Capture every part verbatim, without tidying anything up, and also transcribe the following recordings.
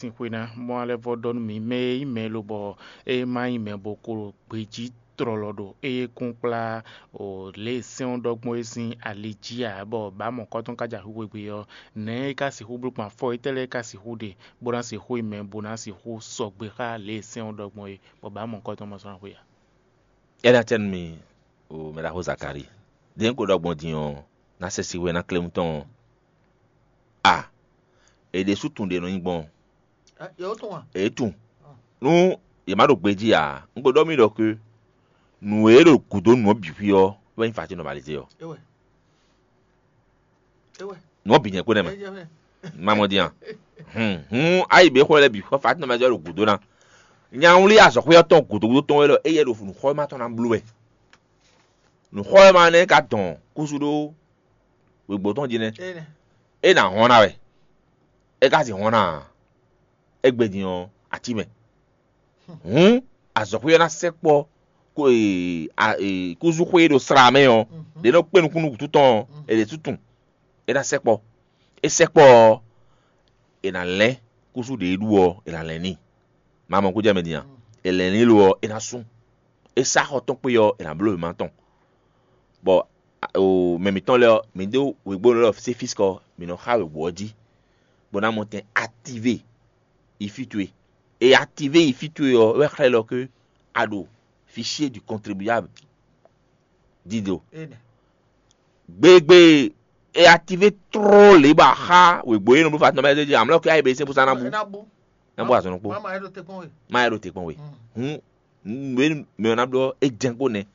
Sin xwe ná, bɔ alɛ vɔ ɖɔ nú mì, mɛ e nyí mɛ lobɔ é ma nyí mɛ bo ko ɖo gbejí tlɔlɔ ɖo éyɛ́ kún kplá o lě e sɛ́n ɔ́ ɖɔ gbɔn é sín ali jí ǎ, bɔ bǎ mɔ̌kɔ́tɔn ka ja xwixwe gbe ɔ́, nɛ̌ é ka sixú bló gbɔn? Afɔ étɛ́ lɛ́ɛ é ka sixú ɖe bó ná sixú nyí mɛ bó ná sixú sɔgbe xá lě e sɛ́n ɔ́ ɖɔ gbɔn é, bɔ bǎ mɔ̌kɔ́tɔn ma sɔ́ ná xwe ǎ? É ná acɛ nú mi, o mɛ ɖaxó Zakalíi. Din ko ɖɔ gbɔn din ɔ́, ná sɛ si hwɛ ná klé mutɔn ɔ́. A, è ɖe sú tunwun ɖě nɔ nyí gbɔn. Yǒ tún wa. È tunwun. Nú yě má ɖo gbejí ǎ, un ko ɖɔ mì ɖɔ ké nǔ e ɖo gǔdo nǔ ɔ́ bǐ xwí ɔ́ wɛ nyí Fatín nɔ Malizée ɔ́. É wɛ. É wɛ. Nǔ ɔ́ bǐ nyɛ kpé nɛ́ mɛ. É jɛ mɛ. Má mɔ dín a. Hǔn hǔn ayi bě xɔ lɛ́ɛ bǐ xɔ Fatín nɔ Malizée ɔ́ ɖo gǔdo ná. Nyanwlí azɔ̌xwé ɔ́ tɔn gǔdo gúdo tɔn wɛ lɔ, éyɛ́ ɖo nǔxɔ́mɛ tɔn ná bló wɛ. Nǔxɔ́mɛ nɛ́ ka dɔn kúsú ɖó wěgbó tɔn jí nɛ́. É nɛ. É ná hɔn ná wɛ. É ka sixú hɔn ná ǎ. Égbé din ɔ́, atín mɛ. Hǔn azɔ̌xwé ɔ́ ná sɛkpɔ́ kúzúxwé e ɖo slá mɛ ɔ́, ɖě nɔ kpé nukúnnú wǔtu tɔn ɔ́, è ɖě sú tunwun. É ná sɛkpɔ́. É sɛkpɔ́ ɔ́, è nǎ lɛ́n kúsú ɖě e ɖu ɔ́, è nǎ lɛ́n n'i. Mamɔ kó jɛ mɛ din a? È lɛ̌n n'i lo ɔ́, é ná sú. É sá xɔ tɔn kpé ɔ́, è nǎ bló wěma tɔn. Bɔ mɛ mǐtɔn lɛ́ɛ ɔ́, mǐ ɖó wěgbónú lɛ́ɛ ɔ́, Sefískɔ, mǐ nɔ xá wěgbó ɔ́ jí, bó ná mɔ tɛn atívé yi fí towe. E atívé yi fí towe ɔ́ wɛ xlɛ́ lɔ ké a ɖo fichier du contribuable dido. Gbegbe e atívé tló lě bɔ a xá wěgbó e nɔ bló fatin ɔ́ mɛ jí amlɔ ké ayi bɛ sɛ́n bó sá ná bú. Ná bú azɔn ɖokpó. Má yɛ ɖo te kpɔn we. Má yɛ ɖo te kpɔn we. Hǔn nǔ e mɛ ɔ́ ná bló ɔ́, é jɛ́n kpó nɛ́.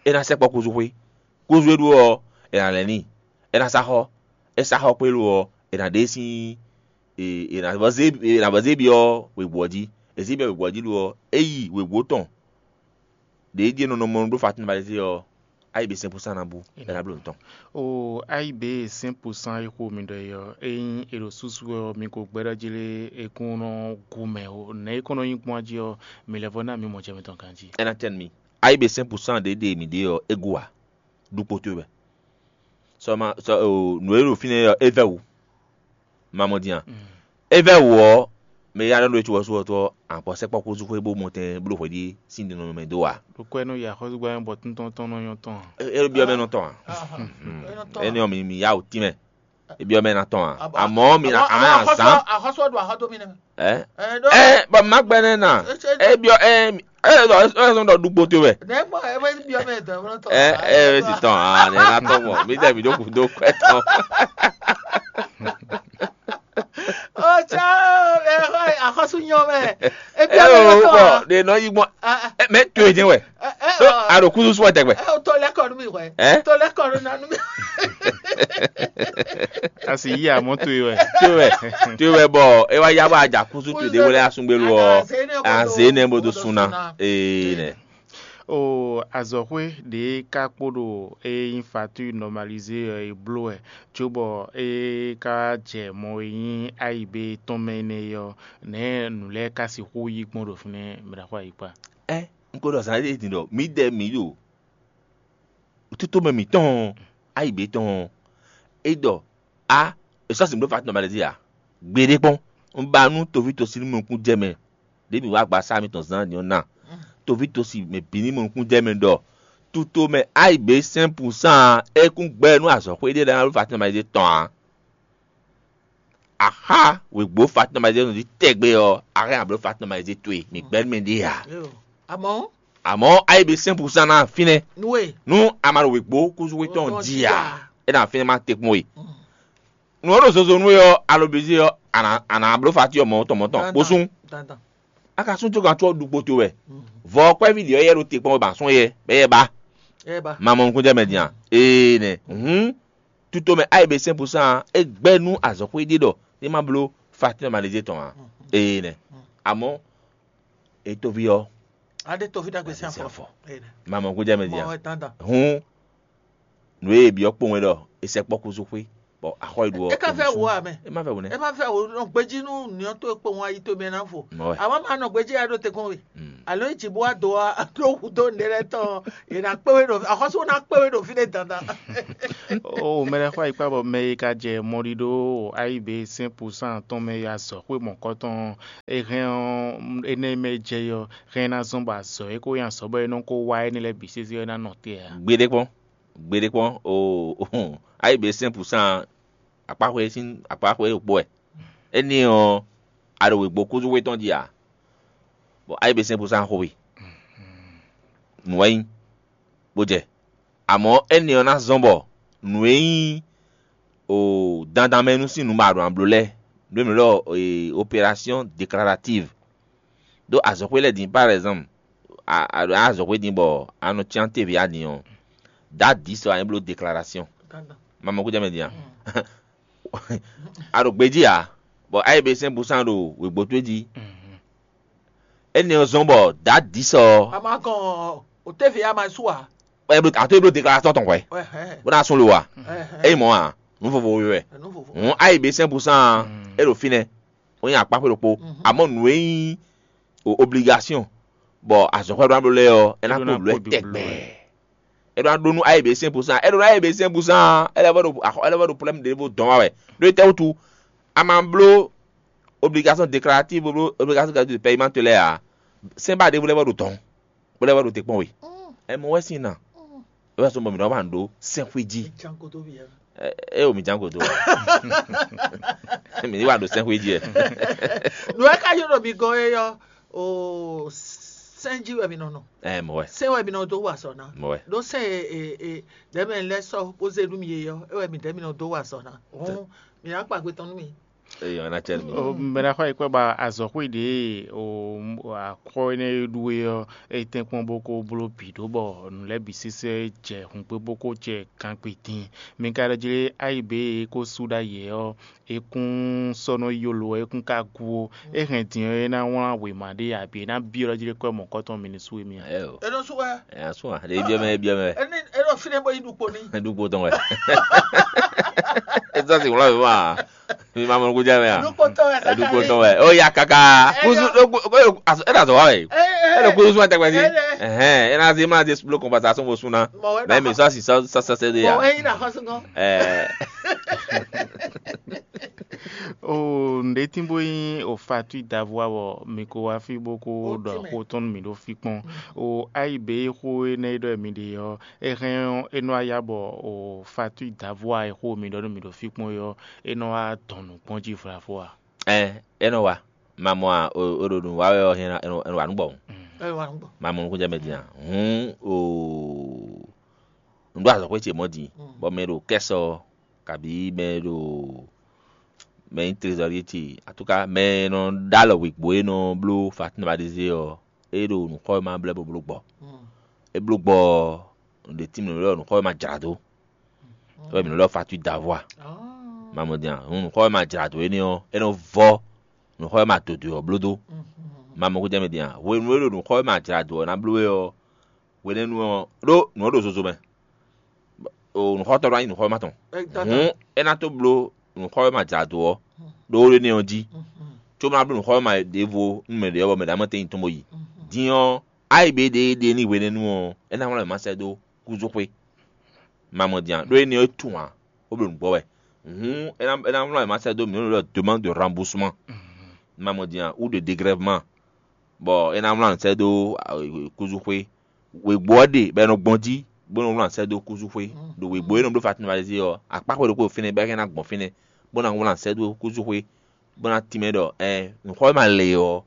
É ná sɛkpɔ́ kúzú xwé. Kúzú e ɖó ɔ́, è nǎ lɛ́ n'i. É ná sá xɔ. É sá xɔ kpé lo ɔ́, è nǎ ɖe sín è nǎ vɔ zé è nǎ vɔ zé byɔ́ wěgbó ɔ́ jí. È zé byɔ́ wěgbó ɔ́ jí lo ɔ́, é yi wěgbó tɔn ɖě jí e nɔ nɔ mɔ nú ɖó fatin balɛ́ ɔ́, ayi bɛ sɛ́n púsán ná bú, é ná bló nǔ tɔn. O ayi bɛ sɛ́n púsán e xo mi ɖɔ é ɔ́, ényí è ɖo súsú wɛ ɔ́, mi ko gbɛɖɔ́ jí lé, è kún nɔ gu mɛ o. Nɛ̌ é kɔn nɔ nyí gbɔn jí ɔ́, mi lɛ́ vɔ ná mi mɔ jɛ mitɔn ganjí. É ná tɛ́ nú mi. Ayi bɛ sɛ́n púsán ɖě ɖe mǐ ɖe ɔ́, é gu ǎ. Ɖu kpo towe wɛ. Sɔ ma sɔ o nǔ e ɖo fínɛ́ ɔ́, é vɛ́ wǔ. Ma mɔ din a? É vɛ́ wǔ ɔ́, mɛ e yá ɖɔ nú we có ɔ́ sú ɔ́ tɔ́, a kɔ sɛkpɔ́ kúzú xwé bó mɔ tɛn bló hwɛɖíe sín ɖiɖɔnmɛ dó ǎ. Ɖokpó ɛnɛ ya xɔ́súgbɛ́ bɔ tɔntɔn tɔn nɔ nyɔ́ tɔn a? É é ɖɔ byɔ́ mɛ nɔ tɔn a? Énɛ́ ɔ́, mi mi yá wǔ tínmɛ. É byɔ́ mɛ ná tɔn a? Amɔ̌ mi ná a mɛ azán. Axɔ́sú ɔ́ ɖo axɔ́ dó mì nɛ́. Ɛ Ɛ ɖó ɛ bɔ má gbɛ nɛ na. Etsé- É byɔ́ ɛ ɛ ɛ sɔn ɖɔ ɖu gboto wɛ. Nɛ̌ gbɔn ɛ bɛ byɔ́ mɛ dɔn mɔ tɔn. Ɛ ɛ bɛ si tɔn a nɛ na tɔn mɔ mi tɛ mi ɖo kudo kwɛ tɔn. Ɔtsá ɛ xɔ axɔ́sú nyɔ mɛ. Ɛ Ebyɔ́ mɛ o nɔ tɔn bɔ a? De nɔ yi gbɔn. Ɛ ɛ Ɛ mɛ to e jɛ wɛ. Ɛ ɛ Ɖo a ɖo kuzu sɔ tɛgbɛ. Ɛ o tɔ lɛ kɔ nú mi hwɛ. Ɛ? Tɔ lɛ kɔ nú na nú mi. Asi yí amɔ to yi wɛ. To wɛ to wɛ bɔ e wa ya bɔ a ja kuzu to de wele asungbe lo ɔ. A zé nɛ bo do sun na. Ee nɛ. O azɔxwe ɖe ka kpo ɖo e nyi fatu normalize ɔ e blo wɛ, cóbɔ e ka jɛ mɔ e nyi ayi be tɔn mɛ nɛ ɔ, nɛ nu lɛ ka sixu yi gbɔn ɖo finɛ mɛ ɖaxo ayi kpa. Ɛ n ko ɖɔ zan ɖe din ɖɔ mi ɖɛ mi ɖo tutomɛ mǐtɔn ɔ́, ayi bǐ tɔn ɔ́, é ɖɔ a è sɔ́ sin bló Fatín nɔ Malɛzíi ǎ. Gbeɖé kpɔ́n, un ba nú toví tosi ní mɔ nukún jɛ mɛ ɖě mǐ wá agbaza mitɔn zán din ɔ́ ná. Toví tosi mɛ bǐ ní mɔ nukún jɛ mɛ ɖɔ tutomɛ ayi bǐ sɛ́n pǔsán é kún gbɛ́ nú azɔ̌xwé ɖé lɛ́ɛ ná bló Fatín nɔ Malɛzíi tɔn ǎ. Axá wěgbó Fatín nɔ Malɛzíi nɔ jí tɛgbɛ ɔ́, a hɛn a bló Fatín nɔ Malɛzíi towe, mǐ gbɛ́ nú mɛ ɖé ǎ. Amɔ̌ Àmọ́ ayé be sɛ́n púsán ná fínɛ́. Nú e Nú a ma ɖo wěgbó kúzú xwé tɔn jí ǎ, é ná fínɛ́ má te kpɔ́n we. Nǔ ɔ́ ɖo zozo nú we ɔ́, alobezi ɔ́, a nǎ a nǎ bló fatíɔ mɔ̌ tɔn mɔ̌ tɔn kpó sún. Dandan. A ka sún tó gán tó ɔ́ ɖu kpoto wɛ. Vɔ ɔ́ kpɛ́ví ɖě ɔ́ yɛ ɖo te kpɔ́n wɛ ba sɔ́n yɛ bɛ yɛ ba. Ɛ ba. Ma mɔ nukúnjɛ mɛ din a? Ee nɛ. Hǔn tutomɛ ayé be sɛ́n púsán é gbɛ́ nú azɔ̌xwé ɖé ɖɔ é má bló fatíɔ malezé tɔn ǎ. Ee nɛ. Amɔ̌ Etoví ɔ́, Ade tovi ɖagbe sín sín afɔ. Afɔ. Ene. Mamɔ kó jɛ mɛ Mɔ dia. Ɛ dandan. Hun nǔ e byɔ́ kpowun é ɖɔ è sɛ kpɔ́ kúzú xwé. Bɔ axɔ yi ɖu ɔ. E ka fɛ wo amɛ. E ma fɛ wo nɛ. E ma fɛ wo nɔ gbeji nú nìyɔn tó kpowun ayi tó mɛ ná fo. Mɔ wɛ. Àwọn máa nɔ gbeji ya ɖó te kɔn we. Mm. Alo yi dzibu wa do wa ɖó wu dó ne lɛ tɔn. Yě ná kpé we ɖo axɔsú ná kpé we ɖo fí ɖé dandan. O mɛ ɖé xɔ ayikpa bɔ mɛ e ka jɛ mɔɖiɖo ayibe sɛn pusan tɔn mɛ ya zɔ xwé mɔkɔtɔn e hɛn ɔ́, énɛ́ mɛ jɛ yɔ hɛn ná zɔn bɔ azɔ e ko nyi azɔ bɔ é nɔ ko wá énɛ́ lɛ́ɛ bǐ sésé ɔ́ ná nɔ te ǎ. Gbeɖé kpɔ́n, gbeɖé kpɔ́n, o ayibe sɛn pusan akpaxwe sín akpaxwe ɖokpó wɛ. Énɛ́ ɔ́, a ɖo wěgbó kúzúxwé tɔn jí ǎ. Bɔ ayibe sɛn pusan xo we. Nǔ wɛ nyí, bó jɛ. Amɔ̌ énɛ́ ɔ́ ná zɔ́n bɔ nǔ e nyí o dandan mɛ nú sín nǔ ma ɖo nǎ bló lɛ́ɛ, nǔ e mǐ ɖɔ opération déclarative. Ɖó azɔ̌xwé lɛ́ɛ din par exemple, a a ɖo azɔ̌xwé din bɔ a nɔ cyán tévě a din ɔ́, dǎ dǐ sɔ a nyi bló déclaration. Ma mɔ kújá mɛ din a? A ɖo gbejí ǎ, bɔ a yi be sɛn busan ɖo wěgbó towe jí. Énɛ́ ɔ́ zɔ́n bɔ dǎ dǐ sɔ ɔ́, A ma kɔn o tévě a ma sú a? Ɛ bló a tó e bló déclaration tɔn hwɛ, Ɛhɛn. Bó ná sún lo wa. Ɛhɛn. É mɔ a, nǔ vovo wɛ. Nǔ vovo. Hǔn a yi be sɛn busan, é ɖo fínɛ́. Ó nyí akpáxwé ɖokpó. Amɔ̌ nǔ e nyí o obligation bɔ azɔ̌xwɛ ɖó ná bló lɛ́ɛ ɔ́, é ná kó bló ɛ tɛgbɛ. É ɖó ná ɖó nú a yi be sɛn busan, é ɖó ná yi be sɛn busan, é lɛ́ vɔ ɖo axɔ é lɛ́ vɔ ɖo problème ɖěvo dɔn wa wɛ. Ɖó étɛ́ wútu? A ma bló obligation déclarative, bló obligation de paiement lɛ́ɛ ǎ. Sɛ́n ba ɖěvo lɛ́ vɔ ɖo dɔn. Bó lɛ́ wá ɖo te kpɔ́n we. Ɛ mɔ wɛ sín na. É wá sɔ́ bɔ mǐ nɔ wá nǔ ɖó sɛ́nxwé jí. Ɛ ɛ o mǐ ján godo. Mǐ ní wá ɖo sɛ́nxwé jí ɛ. Nǔ e ka nyɔ́ ɖɔ mi gɔ́n é ɔ́, o sɛ́n jí wɛ mi nɔ nɔ. Ɛ mɔ wɛ. Sɛ́n wɛ mi nɔ dó wa sɔ ná. Mɔ wɛ. Ɖó sɛ́n e e e dɛ̌mɛ lɛ́ sɔ́ bó zé nú mi é ɔ́, é wɛ mi dɛ̌ mi nɔ dó wa sɔ ná. Hǔn mi ná kpa gbe tɔn nú mi. Eyi ɔ́ ná cɛ nú mi. Mɛ ná xɔ yi kpɛ ba azɔ̌xwé ɖě o akwɔ énɛ́ e ɖu é ɔ́, é tɛ́nkpɔ́n bó ko bló bǐ ɖó bɔ nǔ lɛ́ɛ bǐ sésé jɛ hǔngbé bó ko jɛ gangbe din. Mi ka ɖɔ jlé ayi bě e é ko sú ɖ'ayǐ ɔ́, é kún sɔ́ nɔ yolo, é kún ka gu ó. É hɛn din ɔ́, é ná wlán wěma ɖé abǐ é ná byɔ́ ɖɔ jlé kɔ́ mɔ̌kɔtɔn mi ní sú émí a? Ɛ o. É nɔ sú wɛ. Ɛ asún a, ɖe biɔ mɛ biɔ mɛ. Ɛ ní é nɔ fínɛ́ bó yi ɖu kpo ní. Ɖu kpo tɔn wɛ. Ezɔ si wlɔ mi ma. Mi ma mɔ nukuja mɛ a? Ɖu kpo tɔn wɛ. Ɖu kpo tɔn wɛ. O ya kaka. Kusu ɖo kpo ko aso e na zɔ wa wɛ. E le kusu suma tɛgbɛ si. Ɛhɛn, e na se ma se blo compensation bo suna. Mɛ mi sɔ si sɔ sɔ sɛ de ya. Mɔ wɛ yi na xɔsungɔ. Ɛɛ. O nɖe tin bo nyi o fatui davua bɔ mi ko wá fí bó ko ɖɔ xó tɔn nú mi ɖo fí kpɔn. O ayi be xó énɛ́ ɖɔ mi ɖe ɔ́, é hɛn ɔ́, é nɔ wá ya bɔ o fatui davua e xó mi ɖɔ nú mi ɖo fí kpɔn é ɔ́, é nɔ wá dɔn nǔ gbɔn jí vlavo a? Ɛ é nɔ wa. Ma mɔ a o o ɖo nǔ wa wɛ ɔ́ hɛn é nɔ wa nú bɔ. Ɛ wà nú bɔ. Ma mɔ nukúnjɛ mɛ din a. Hǔn o nǔ ɖo azɔ̌xwé ce mɔ̌ din, bɔ mɛ ɖo kɛ́sɔ kabǐ mɛ ɖo mɛ nyí trezɔ́rie ce, atúká mɛ e nɔ ɖó alɔ wěgbó e nɔ bló Fatinabadézé ɔ́, é ɖo nǔxɔ e ma blɛ́ bó bló gbɔ. É bló gbɔ ɔ́, nǔɖé tín mɛ ɖɔ nǔxɔ e ma jlǎ dó. É wɛ mǐ nɔ ɖɔ fatui davua. Ma mɔ din a, nǔxɔ e ma jlǎ dó énɛ́ ɔ́, é nɔ vɔ́ nǔxɔ e ma dǒdó ɔ́ bló dó. Ma mɔ kó jɛ mɛ din a, hwenu e ɖo nǔxɔ e ma jlǎ dó ɔ́ ná bló wɛ ɔ́, hwenɛ́nu ɔ́ ɖó nǔ ɔ́ ɖo zozo mɛ. O nǔxɔtɔ́ ɖó anyi nǔxɔ́má tɔn. Hǔn é ná tó bló nǔxɔ́má jlǎ dó ɔ́ ɖó énɛ́ ɔ́ jí, cóbó ná bló nǔxɔ́má ɖěvo nú mɛ ɖě ɔ́, bɔ mɛ ɖě ná mɔ tɛ́nyi tɔn bó yi. Din ɔ́, áyi bě ɖě é ɖe n'i hwenɛ́nu ɔ́, é ná wlán wěma sɛ́ dó kúzúxwé. Ma mɔ din a? Ɖó énɛ́ ɔ́ é tunwun ǎ, bó bló nǔgbɔ wɛ. Hǔn é ná é ná wlán wěma sɛ́ dó mǐ nɔ ɖɔ demande de remboursement. Ma mɔ din a? Ou de dégrèvement. Bɔ é ná wlán nǔ sɛ́ dó kúzúxwé. Wěgbó ɔ́ ɖe bɔ è nɔ gbɔn jí bó nɔ wlán sɛ́ dó kúzúxwé. Ɖo wěgbó e nɔ bló Fatinabadézé ɔ́, akpáxwé ɖokpó ɖo fínɛ́ bɔ é ná gbɔn fínɛ́, bó ná wlán sɛ́ dó kúzúxwé, bó ná tínmɛ ɖɔ ɛ nǔxɔ e ma lɛ ɔ́,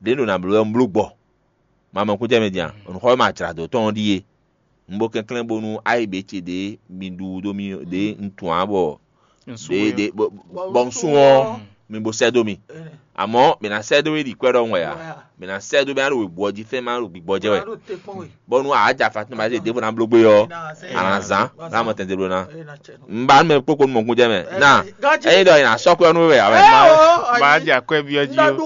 ɖě ɖo nǎ bló wɛ un bló gbɔ. Ma mɔ kúnjɛ mɛ din a? Nǔxɔ e ma jlǎ dó tɔn ɔ́ ɖíe. Un bo kɛnklɛ́n bónú ayi bě ce ɖě mi ɖu dó mì ɖě un tunwun ǎ bɔ ɖě ɖě bɔ un sun ɔ́, mi bo sɛ́ dó mì. Amɔ̌ mǐ ná sɛ́ dó we ɖi kwɛ́ ɖɔhun wɛ ǎ. Mǐ ná sɛ́ dó mɛ ɖo wěbú ɔ́ jí fɛ́n má ɖo gbigbɔ jɛ wɛ. Bɔ́ nú a jǎ Fatima zé ɖěvo ná bló gbé ɔ́, a nǎ zán, ná mɔ tɛn ɖó ná. Un ba nú mɛ kpókpó nú mɔkún jɛ mɛ. Ná ényí ɖɔ è nǎ sɔ́ kwɛ́ nú we wɛ ǎ wɛ. Má jɛ akwɛ́ byɔ́ jí ó.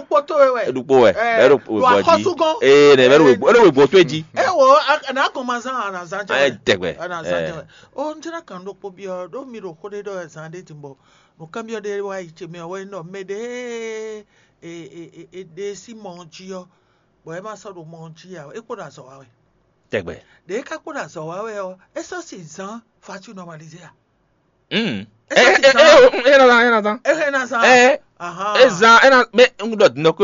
Ɖokpó wɛ, bɛ́ ɖo wěbú ɔ́ jí. Ee, nɛ bɛ́ ɖo wěbú ɔ́ towe jí. Ewo, a nǎ gɔn ma zán, a nǎ zán jɛ Ɛ wɛ. Dɛgbɛ. A nǎ zán jɛ wɛ. O, n jɛ ná kan ɖokpó byɔ́ ɖó mi ɖo xó ɖé ɖɔ wɛ zán ɖé din bɔ nǔkanbyɔ́ ɖé wá yi ce mɛ ɔ́ wɛ nyí ɖɔ mɛ ɖě e e e e ɖe sín mɔ ɔ́ jí ɔ́, bɔ é ma sɔ́ ɖo mɔ ɔ́ jí ǎ, é kpo ɖo azɔ̌ wa wɛ. Tɛgbɛ. Ɖě é ka kpo ɖo azɔ̌ wa wɛ ɔ́, é sɔ́ sin zán fatu nɔmalizé a? Mm. É sɔ́ sin zán. É nɔ zán, é nɔ zán. É hɛn ná zán. Ɛ, Ahan. É zán, é nɔ mɛ ń ɖɔ dindɔ ko